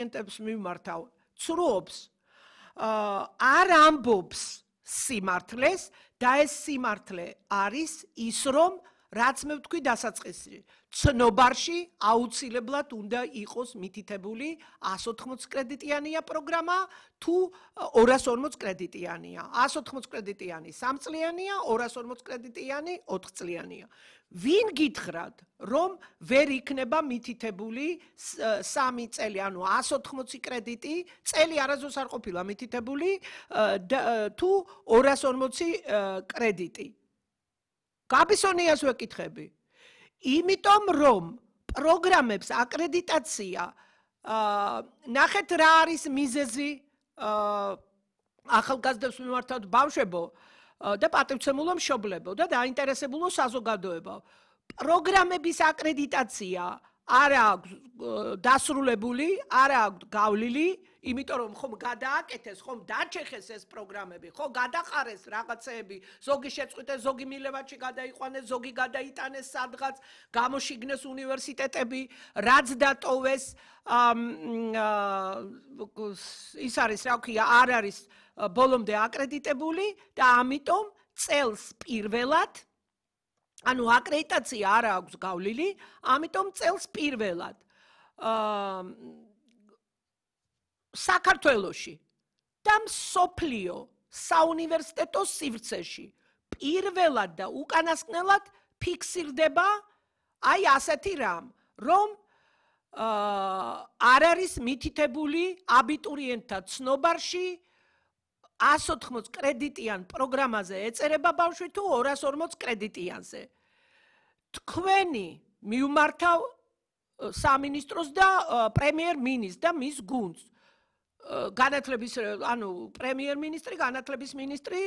აბიტურიენტებს მიმართავ ცრუობს არ ამბობს სიმართლეს და ეს სიმართლე არის ის რომ რაც მე ვთქვი დასაწყისი ცნობარში აუცილებლად უნდა იყოს მითითებული 180 კრედიტიანია პროგრამა თუ 240 კრედიტიანია 180 კრედიტიანი 3 წლიანია 240 კრედიტიანი 4 წლიანია ვინ გითხრათ რომ ვერ იქნება მითითებული 3 წელი ანუ 180 კრედიტი წელი არასდროს არ ყოფილა მითითებული თუ 240 კრედიტი გაბისონიას ვეკითხები იმიტომ რომ პროგრამებს აკრედიტაცია ნახეთ რა არის მიზეზი ახალგაზრდებს მიმართავ ბავშვებო და პატივცემულო მშობლებო და დაინტერესებულო საზოგადოებო პროგრამების აკრედიტაცია არ აქვს დასრულებული არ აქვს გავლილი იმიტომ რომ ხომ გადააკეთეს ხომ დაჩეხეს ეს პროგრამები ხო გადაყარეს რაღაცეები ზოგი შეწყვიტეს ზოგი მილევაჩი გადაიყვანეს ზოგი გადაიტანეს სადღაც გამოშიგნეს უნივერსიტეტები რაც დატოვეს ის არის რა ქვია არ არის ბოლომდე აკრედიტებული და ამიტომ წელს პირველად ანუ აკრედიტაცია არ აქვს გავლილი ამიტომ წელს პირველად საქართველოში და მსოფლიო საუნივერსიტეტო სივრცეში პირველად და უკანასკნელად ფიქსირდება აი ასეთი რამ რომ არ არის მითითებული აბიტურიენტთა ცნობარში 180 კრედიტიან პროგრამაზე ეწერება ბავშვი თუ 240 კრედიტიანზე თქვენი მიუმართავ სამინისტროს და პრემიერ-მინისტრს და მის გუნდს განათლების ანუ პრემიერ-მინისტრი, განათლების მინისტრი,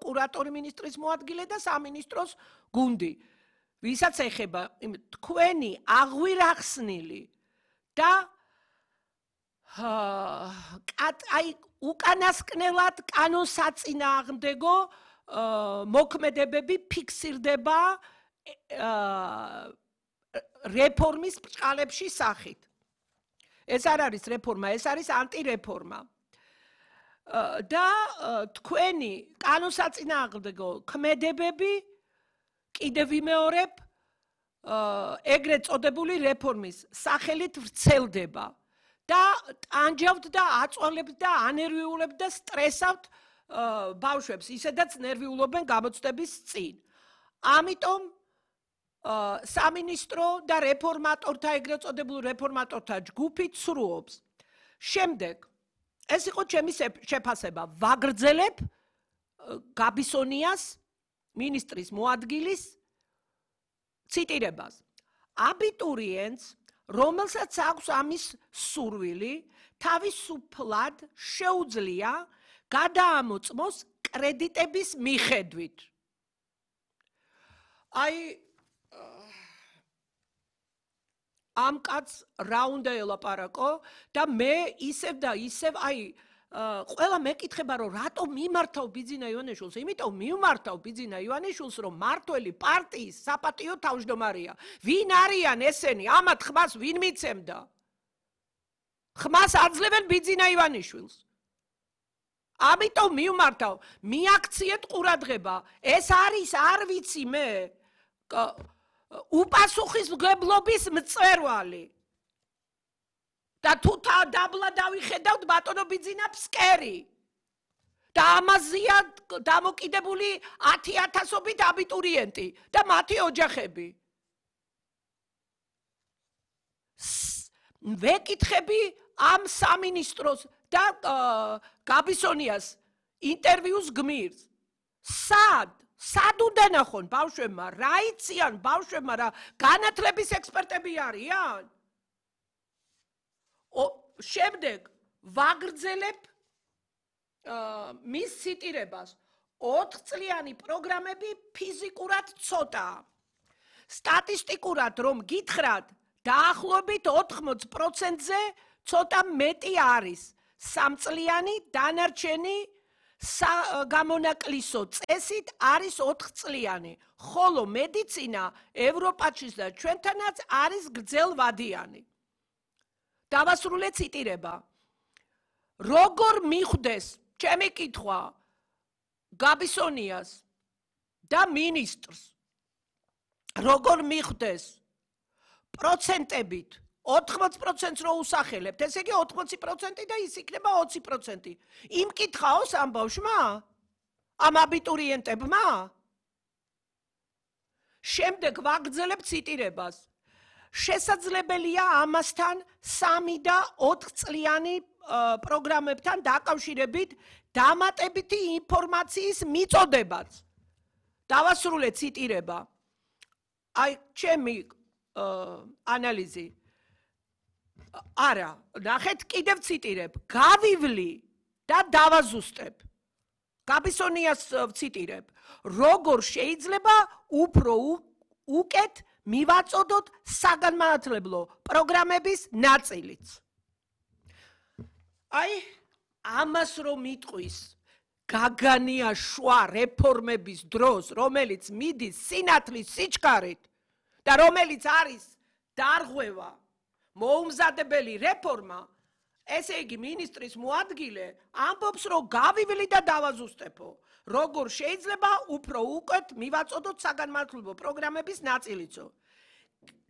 კურატორი მინისტრის მოადგილე და სამინისტროს გუნდი. ვისაც ეხება თქვენი აღვირახსნილი და აი უკანასკნელად კანონსაწინააღმდეგო მოქმედებები ფიქსირდება რეფორმის ბრჭყალებში სახით. ეს არ არის რეფორმა, ეს არის ანტირეფორმა. და თქვენი კანონსაწინააღმდეგო ქმედებები კიდევ ვიმეორებ ეგრეთ წოდებული რეფორმის სახელით ვრცელდება და ტანჯავთ და აწვალებთ და ანერვიულებთ და სტრესავთ ბავშვებს, ისედაც ნერვიულობენ გამოცდების წინ. ამიტომ სამინისტრო და რეფორმატორთა ეგრეთ წოდებულ რეფორმატორთა ჯგუფი ცრუობს. შემდეგ ეს იყო ჩემი შეფასება. ვაგრძელებ გაბისონიას მინისტრის მოადგილის ციტირებას. აბიტურიენტს, რომელსაც აქვს ამის სურვილი, თავისუფლად შეუძლია გადაამოწმოს კრედიტების მიხედვით. აი ამ კაცს რა უნდა ელაპარაკო და მე ისევ და ისევ აი ყველა მეკითხება რომ რატომ მიმართავ ბიძინა ივანიშვილს? იმიტომ მიმართავ ბიძინა ივანიშვილს რომ მართველი პარტიის საპატიო თავმჯდომარეა. ვინ არიან ესენი? ამათ ხმას ვინ მიცემდა? ხმას აძლევენ ბიძინა ივანიშვილს. ამიტომ მიმართავ, მიაქციეთ ყურადღება. ეს არის არ ვიცი მე უპასუხისმგებლობის მწვერვალი. და თუ დაბლა დავიხედავთ ბატონო ბიძინა ფსკერი. და ამაზეა დამოკიდებული 10,000-ობით აბიტურიენტი და მათი ოჯახები. ვეკითხები ამ სამინისტროს და გაბისონიას ინტერვიუს გმირს. სად უნდა ნახონ ბავშვებმა? რა იციან ბავშვებმა? რა განათლების ექსპერტები არიან? შემდეგ ვაგრძელებ მის ციტირებას. 4 წლიანი პროგრამები ფიზიკურად ცოტაა. სტატისტიკურად რომ გითხრათ, დაახლოებით 80%-ზე ცოტა მეტი არის. 3 წლიანი დანარჩენი გამონაკლისო წესით არის 4 წლიანი. ხოლო მედიცინა ევროპაშიც და ჩვენთანაც არის გრძელვადიანი. დავასრულე ციტირება. როგორ მიხვდეს ჩემი კითხვა გაბისონიას და მინისტრს როგორ მიხვდეს პროცენტებით 80%-ს რო usახელებთ, ესე იგი 80% და ის იქნება 20%. იმ კითხაოს ამ ბავშვმა? ამ აბიტურიენტებმა? შემდეგ ვაგრძელებ ციტირებას. შესაძლებელია ამასთან 3 და 4 წლიანი პროგრამებთან დაკავშირებით დამატებითი ინფორმაციის მიწოდებაც. დავასრულე ციტირება. აი, ჩემი ანალიზი. არა, ნახეთ, კიდევ ციტირებ. გავივლი და დავაზუსტებ. გაბისონიას ვციტირებ. როგორ შეიძლება უფრო უკეთ მივაწოდოთ საგანმანათლებლო პროგრამების ნაწილიც. აი, ამას რომ მიტყვის გაგანია შვა რეფორმების დროს, რომელიც მიდის სინათლის სიჩქარით და რომელიც არის დარღვევა, მოუმზადებელი რეფორმა, ესე იგი მინისტრის მოადგილე ამბობს, რომ გავივლი და დავაზუსტებო. როგორ შეიძლება უფრო უკეთ მივაწოდოთ საგანმანათლებლო პროგრამების ნაწილიცო.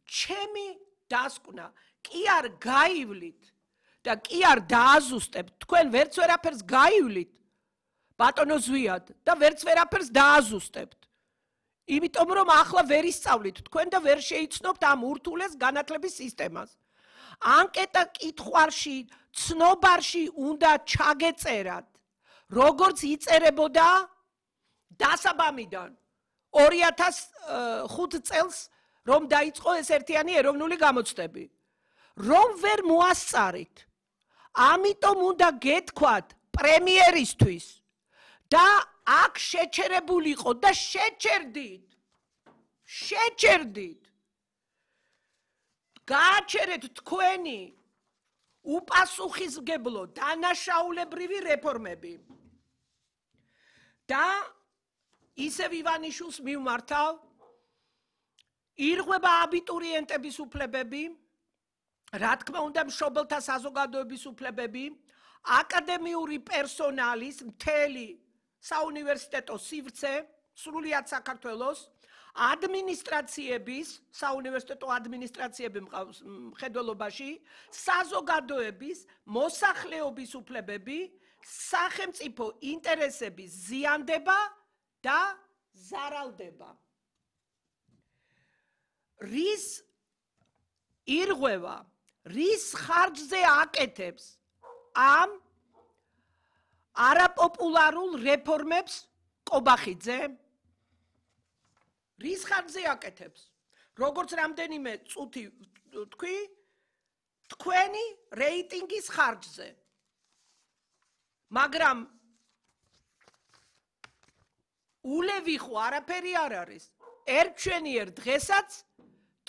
ჩემი დასკვნა, კი არ გაივლით და კი არ დააზუსტებთ, თქვენ ვერც ვერაფერს გაივლით, ბატონო ზვიად და ვერც ვერაფერს დააზუსტებთ. იმიტომ რომ ახლა ვერ ისწავლით თქვენ და ვერ შეიცნობთ ამ ურთულეს განათლების სისტემას. ანკეტა კითხვარში, ცნობარში უნდა ჩაგეწერათ, როგორც იწერებოდა დასაბამიდან 2005 წელს, რომ დაიწყო ეს ერთიანი ეროვნული გამოცდები. რომ ვერ მოასწარით, ამიტომ უნდა გეთქვათ პრემიერისთვის და აქ შეჩერებულიყო და შეჩერდით. გააჩერეთ თქვენი უპასუხისმგებლო დანაშაულებრივი რეფორმები. და ისევ ივანიშვილს მივმართავ, ირღვება აბიტურიენტების უფლებები, რა თქმა უნდა მშობელთა საზოგადოების უფლებები, აკადემიური პერსონალის მთელი საუნივერსიტეტო სივრცე, სრულიად საქართველოს, ადმინისტრაციების, საუნივერსიტეტო ადმინისტრაციები მხედველობაში, საზოგადოების, მოსახლეობის უფლებები, სახელმწიფო ინტერესების ზიანდება და ზარალდება. რის ირღვევა, რის ხარჯზე აკეთებს ამ არაპოპულარულ რეფორმებს კობახიძე? რის ხარჯზე აკეთებს? როგორც რამდენიმე წუთი თქვი, თქვენი რეიტინგის ხარჯზე. მაგრამ ულევი ხო არაფერი არ არის. ერთჩვენიერ დღესაც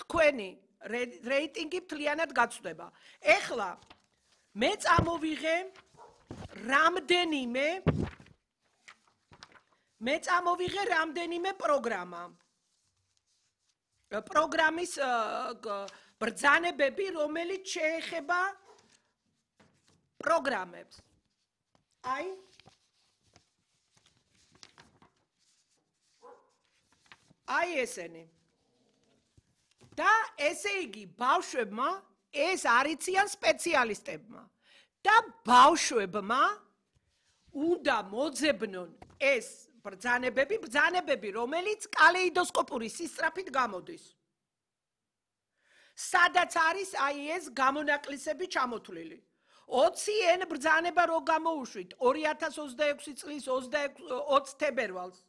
თქვენი რეიტინგი მთლიანად გაცვდება. ეხლა მე წამოვიღე რამდენიმე პროგრამა. პროგრამის ბრძანებები, რომელიც შეეხება პროგრამებს. აი ესენი. და ესე იგი ბავშვებმა ეს არიციან სპეციალისტებმა და ბავშვებმა უნდა მოძებნონ ეს ბრძანებები, რომელიც კალეიდოსკოპური სისწრაფით გამოდის. სადაც არის აი ეს გამონაკლისები ჩამოთვლილი. 20N ბრძანება რო გამოუშვით 2026 წლის 20 თებერვალს.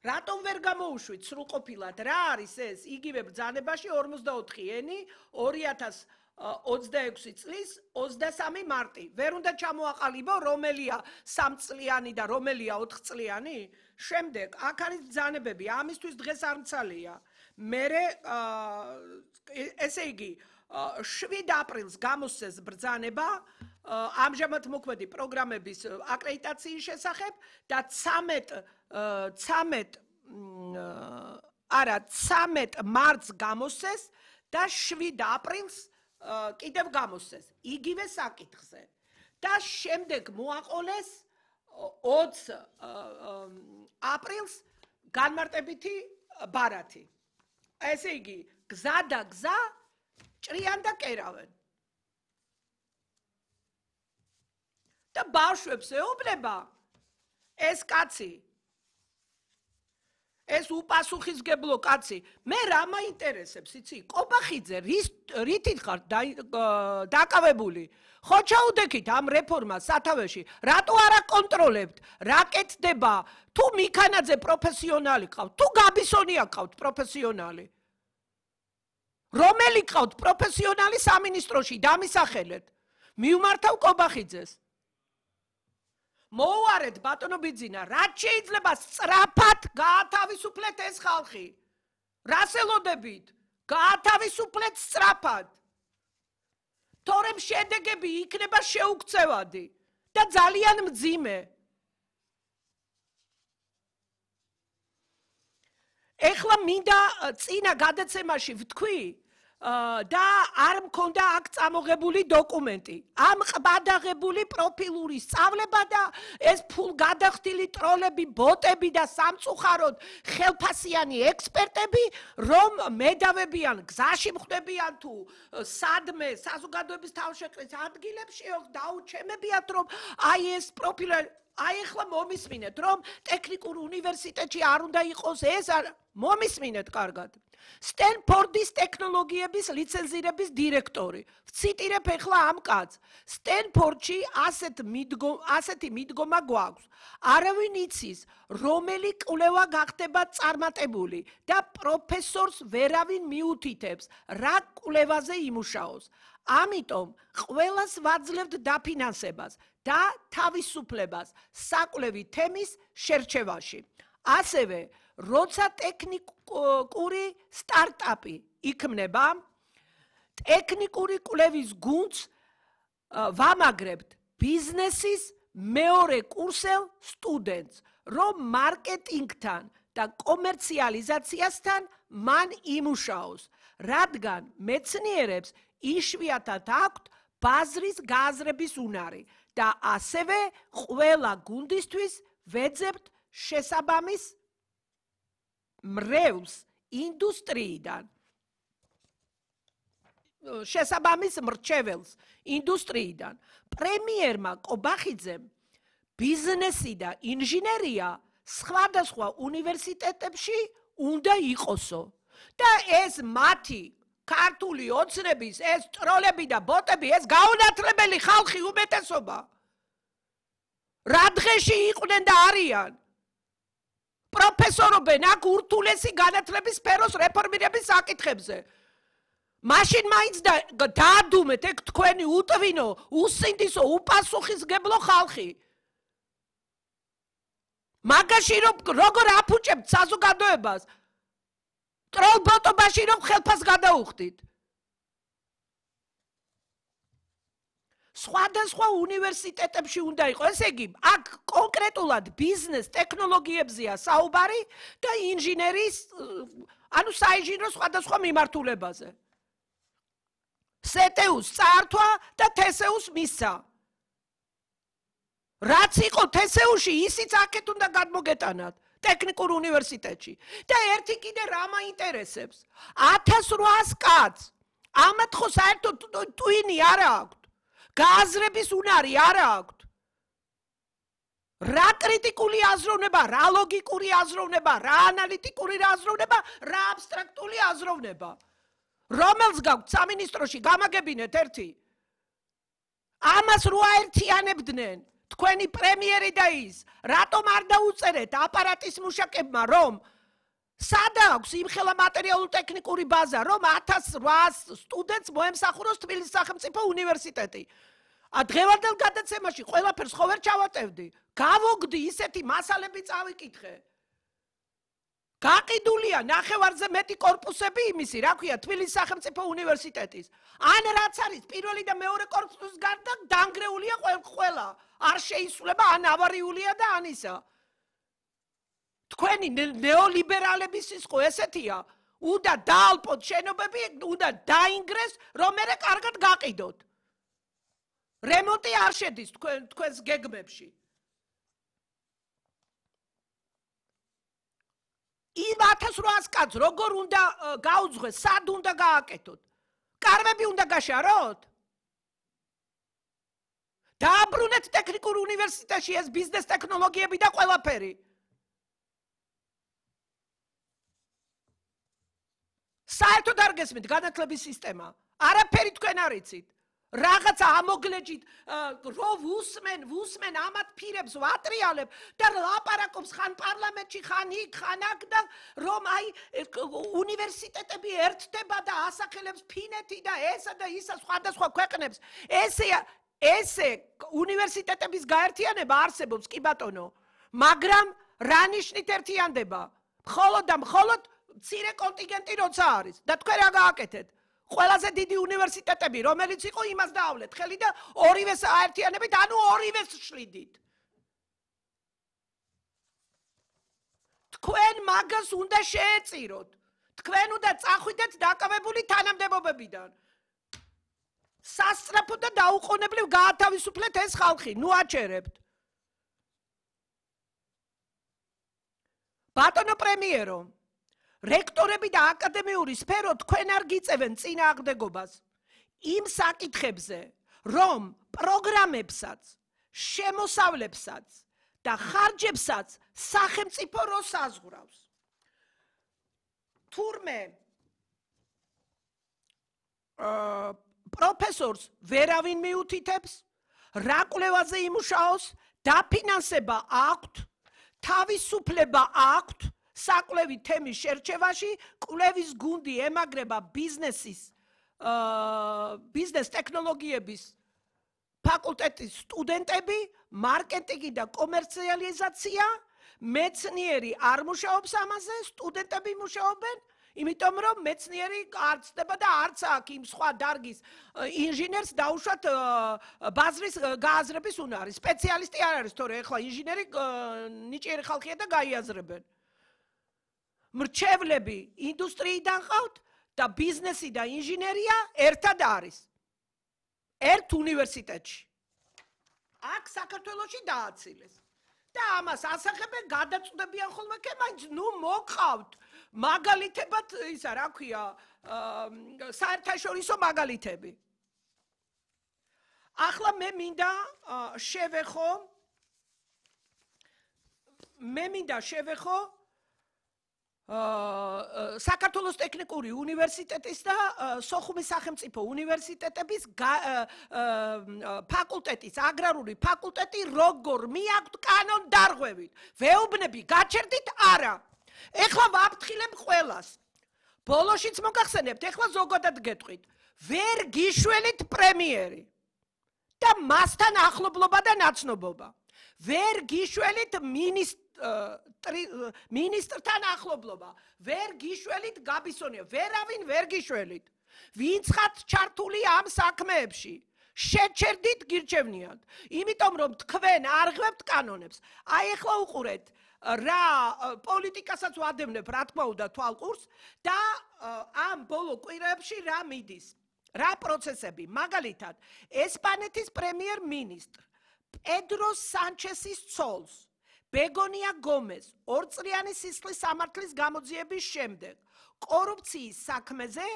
რატომ ვერ გამოუშვით სრულყოფილად? რა არის ეს? იგივე ბრძანებაში 44N 2026 წლის 23 მარტი. ვერ უნდა ჩამოაყალიბო რომელია 3 წლიანი და რომელია 4 წლიანი? შემდეგ აქ არის ბრძანებები, ამისთვის დღეს არ მცალია. მერე ესე იგი 7 აპრილს გამოსცეს ბრძანება ამჟამად მოქმედი პროგრამების აკრედიტაციის შესახებ და 13 მარტს გამოსცეს და 7 აპრილს კიდევ გამოსცეს იგივე საკითხზე და შემდეგ მოაყოლეს 20 აპრილს განმარტებითი ბარათი. ესე იგი, გზა და გზა ჭრიან და კერავენ. და ბავშვებს ეუბნება ეს კაცი ეს უპასუხისმგებლო კაცი, მე რა მაინტერესებს, იცი? კობახიძე რითით ხარ დაკავებული? ხო ჩაუდექით ამ რეფორმას სათავეში, რატო არ აკონტროლებთ? რა კეთდება? თუ მიქანაძე პროფესიონალი ყავთ, თუ გაბისონია ყავთ პროფესიონალი. რომელი ყავთ პროფესიონალი სამინისტროში, დამისახელეთ. მიუმართავ კობახიძეს. მოუარეთ ბატონო ბიძინა, რაც შეიძლება სწრაფად გაათავისუფლეთ ეს ხალხი. რას ელოდებით? გაათავისუფლეთ სწრაფად. თორემ შედეგები იქნება შეუქცევადი და ძალიან მძიმე. ეხლა მინდა წინა გადაცემაში ვთქვი და არ მქონდა აქ წამოღებული დოკუმენტი. ამ ყბადაღებული პროფილური სწავლება და ეს ფულგადახდილი ტროლები, ბოტები და სამწუხაროდ ხელფასიანი ექსპერტები, რომ მედავებიან, გზაში მხვდებიან თუ სადმე საზოგადოების თავშეყრის ადგილებში, დაუჩემებიათ, რომ აი ეს პროფილი აი ახლა მომისმინეთ, რომ ტექნიკურ უნივერსიტეტში არ უნდა იყოს ეს მომისმინეთ კარგად. სტენფორდის ტექნოლოგიების ლიცენზირების დირექტორი. ვციტირებ ახლა ამ კაცს. სტენფორდში ასეთი მიდგომა გვაქვს. არავინ იცის, რომელი კვლევა გახდება წარმატებული და პროფესორს ვერავინ მიუთითებს, რა კვლევაზე იმუშაოს. ამიტომ ყველას ვაძლევთ დაფინანსებას და თავისუფლებას საკვლევი თემის შერჩევაში. ასევე, როცა ტექნიკური სტარტაპი იქმნება, ტექნიკური კვლევის გუნდს ვამაგრებთ ბიზნესის მეორე კურსელ სტუდენტს, რომ მარკეტინგთან და კომერციალიზაციასთან მან იმუშაოს, რადგან მეცნიერებს იშვიათად აქვთ ბაზრის გააზრების უნარი და ასევე ყველა გუნდისთვის ვეძებთ შესაბამის მრევლს ინდუსტრიიდან. შესაბამის მრჩეველს ინდუსტრიიდან. პრემიერმა კობახიძემ ბიზნესი და ინჟინერია სხვადასხვა უნივერსიტეტებში უნდა იყოსო და ეს მათი ქართული ოცნების ეს ტროლები და ბოტები ეს გაუნათლებელი ხალხი უმეტესობა. რა დღეში იყვნენ და არიან? პროფესორობენ აქ ურთულესი განათლების სფეროს რეფორმირების საკითხებზე. მაშინ მაინც დაადუმეთ ეგ თქვენი უტვინო, უსინდისო, უპასუხისმგებლო ხალხი. მაგაში რომ როგორ აფუჭებთ საზოგადოებას? ტროლბოტობაში რომ ხელფას გადაუხდით. სხვადასხვა უნივერსიტეტებში უნდა იყოს. ესე იგი, აქ კონკრეტულად ბიზნეს ტექნოლოგიებზეა საუბარი და ინჟინერის, ანუ საინჟინრო სხვადასხვა მიმართულებაზე. სეტეუს წართვა და თესეუს მისცა. რაც იყო თესეუში, ისიც აქეთ უნდა გადმოგეტანათ. ტექნიკურ უნივერსიტეტში. და ერთი კიდე რა მაინტერესებს? 1800 კაცს. ამათ ხო საერთოდ ტვინი არ აქვთ. გააზრების უნარი არ აქვთ. რა კრიტიკული აზროვნება, რა ლოგიკური აზროვნება, რა ანალიტიკური აზროვნება, რა აბსტრაქტული აზროვნება. რომელს გაქვთ სამინისტროში გამაგებინეთ ერთი. ამას რო აერთიანებდნენ თქვენი პრემიერი და ის, რატომ არ დაუწერეთ აპარატის მუშაკებმა, რომ სადა აქვს იმხელა მატერიალურ-ტექნიკური ბაზა, რომ 1800 სტუდენტს მოემსახუროს თბილისის სახელმწიფო უნივერსიტეტი. დღევანდელ გადაცემაში ყველაფერს ხო ვერ ჩავატევდი? გავოგდი ისეთი მასალები წავიკითხე. გაყიდულია ნახევარზე მეტი კორპუსები იმისი, რა ქვია, თბილისის სახელმწიფო უნივერსიტეტის. ან რაც არის პირველი და მეორე კორპუსის გარდა დანგრეულია ყველა. არ შეისრულება, ან ავარიულია და ან ისა. თქვენი ნეოლიბერალების სისხლი ესეთია, უნდა დაალპოთ შენობები, უნდა დაინგრეს, რომ მერე კარგად გაყიდოთ. რემონტი არ შედის თქვენს გეგმებში. იმ 1800 კაცს როგორ უნდა გაუძღვეს, სად უნდა გააკეთოთ? კარვები უნდა გაშაროთ? დააბრუნეთ ტექნიკურ უნივერსიტეტში ეს ბიზნეს ტექნოლოგიები და ყველაფერი. საერთოდ არ გესმით განათლების სისტემა. არაფერი თქვენ არ იცით. რაღაცა ამოგლეჯით, რო ვუსმენ ამათ ფირებს ვატრიალებ და ლაპარაკობს ხან პარლამენტში, ხან იქ, ხან აქ და რომ აი უნივერსიტეტები ერთდება და ასახელებს ფინეთი და ესა და ისა სხვადასხვა ქვეყნებს. ესე უნივერსიტეტების გაერთიანება არსებობს, კი ბატონო, მაგრამ რა ნიშნით ერთიანდება? მხოლოდ და მხოლოდ მცირე კონტინგენტი როცა არის და თქვენ რა გააკეთეთ? ყველაზე დიდი უნივერსიტეტები, რომელიც იყო, იმას დაავლეთ ხელი და ორივეს აერთიანებით, ანუ ორივეს შლიდით. თქვენ მაგას უნდა შეეწიროთ. თქვენ უნდა წახვიდეთ დაკავებული თანამდებობებიდან. სასწრაფო და დაუყოვნებლივ გაათავისუფლეთ ეს ხალხი, ნუ აჩერებთ. ბატონო პრემიერო, რექტორები და აკადემიური სფერო თქვენ არ გიწევენ წინააღმდეგობას იმ საკითხებზე, რომ პროგრამებსაც, შემოსავლებსაც და ხარჯებსაც სახელმწიფო რო საზღვრავს. თურმე პროფესორს ვერავინ მიუთითებს, რა კვლევაზე იმუშაოს, დაფინანსება აქვთ, თავისუფლება აქვთ, საკვლევი თემის შერჩევაში, კვლევის გუნდი ემაგრება ბიზნეს ტექნოლოგიების ფაკულტეტის სტუდენტები, მარკეტინგი და კომერციალიზაცია, მეცნიერი არ მუშაობს ამაზე, სტუდენტები მუშაობენ, იმიტომ რომ მეცნიერი არ ცდება და არც აქ იმ სხვა დარგის ინჟინერს დაუშვათ ბაზრის გააზრების უნარი. სპეციალისტი არ არის, თორე ეხლა ინჟინერი ნიჭიერი ხალხია და გაიაზრებენ. მრჩევლები ინდუსტრიიდან ყავთ და ბიზნესი და ინჟინერია ერთად არის. ერთ უნივერსიტეტში. აქ საქართველოში დააცილეს. და ამას ასახებენ, გადაწყვეტებიან ხოლმე, მაინც ნუ მოყავთ მაგალითებად, ისა რა ქვია, საერთაშორისო მაგალითები. ახლა მე მინდა შევეხო საქართველოს ტექნიკური უნივერსიტეტის და სოხუმის სახელმწიფო უნივერსიტეტების ფაკულტეტის, აგრარული ფაკულტეტი როგორ მიაქვთ კანონდარღვევით. ვეუბნები, გაჩერდით არა. ეხლა ვაფრთხილებ ყველას. ბოლოშიც მოგახსენებთ, ეხლა ზოგადად გეტყვით. ვერ გიშველით პრემიერი და მასთან ახლობლობა და ნაცნობობა. ვერ გიშველით მინისტრთან ახლობლობა. ვერ გიშველით გაბისონია. ვერავინ ვერ გიშველით. ვინც ხართ ჩართული ამ საქმეებში. შეჩერდით გირჩევნიათ. იმიტომ რომ თქვენ არ ღებთ კანონებს. აი ეხლა უყურეთ. რა პოლიტიკასაც ვადევნებ, რა თქმა უნდა, თვალყურს და ამ ბოლო კვირებში რა მიდის. რა პროცესები, მაგალითად, ესპანეთის პრემიერ-მინისტრ პედრო სანჩესის ცოლს, ბეგონია გომეს, ორწლიანი სისხლის სამართლის გამოძიების შემდეგ, კორუფციის საქმეზე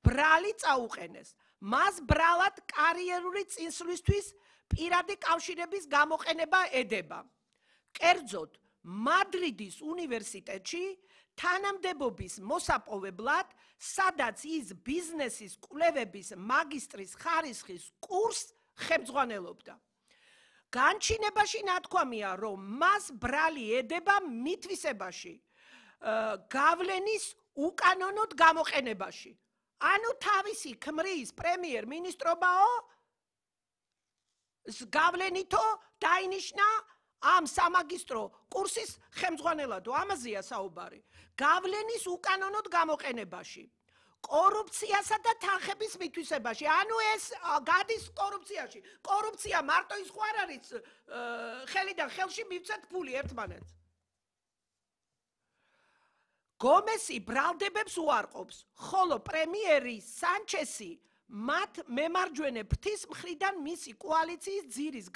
ბრალი წაუყენეს. მას ბრალად კარიერული წინსვლისთვის პირადი კავშირების გამოყენება ედება. კერძოდ, მადრიდის უნივერსიტეტში თანამდებობის მოსაპოვებლად, სადაც ის ბიზნესის კვლევების მაგისტრის ხარისხის კურსს ხელმძღვანელობდა. განჩინებაში ნათქვამია, რომ მას ბრალი ედება მითვისებაში, გავლენის უკანონოდ გამოყენებაში. ანუ თავისი ქმრის პრემიერ-მინისტრობაო გავლენითო დაინიშნა ამ სამაგისტრო კურსის ხელმძღვანელადო. ამაზეა საუბარი. გავლენის უკანონოდ გამოყენებაში. კორუფციასა და თანხების მითვისებაში. ანუ ეს გადის კორუფციაში. კორუფცია მარტო ის ხო არ არის ხელიდან ხელში მივცეთ ფული ერთმანეთს. გომესი ბრალდებებს უარყოფს, ხოლო პრემიერი სანჩესი მათ მემარჯვენე ფრთის მხრიდან მისი კოალიციის ძირის